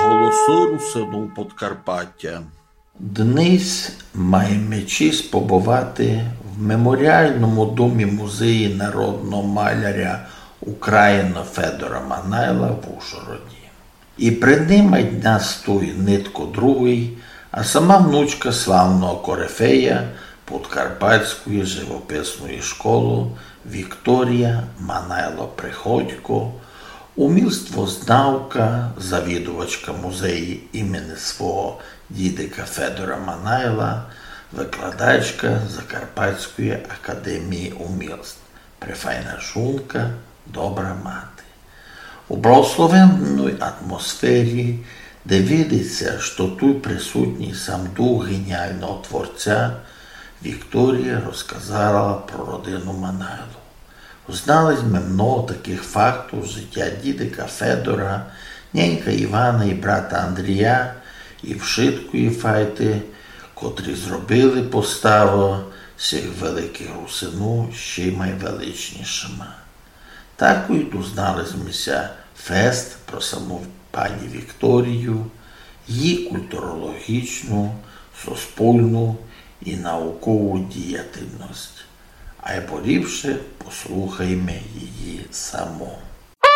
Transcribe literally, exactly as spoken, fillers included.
Голосы русинув Подкарпатя. Днесь маєме честь побывати в Меморіалному домі-музеї народного маляря Україны Федора Манайла в Ужгороді. И принимать нас туй нитко другый, а сама внучка славного корифея подкарпатської живописної школы Вікторія Манайло-Приходько, умілствознавка, завідувачка музеї имени свого дідика Федора Манайла, викладачка Закарпатської академії умілств, префайна жонка, добра мати. У благословенной атмосфері, де видить ся, што туй присутній сам дух геніалного творця, Вікторія розказала про родину Манайло. Узнали сьме много такых фактув з житя дідика Федора, нянька Івана и брата Андрія, и вшыткої файты, котрі зробили поставу сих великых русинув ще май величнішыма. Такой дознали сьме ся фест про саму пані Вікторію, її культурологічну, суспольну и наукову діятельность. Айбо ліпше послухайме її саму.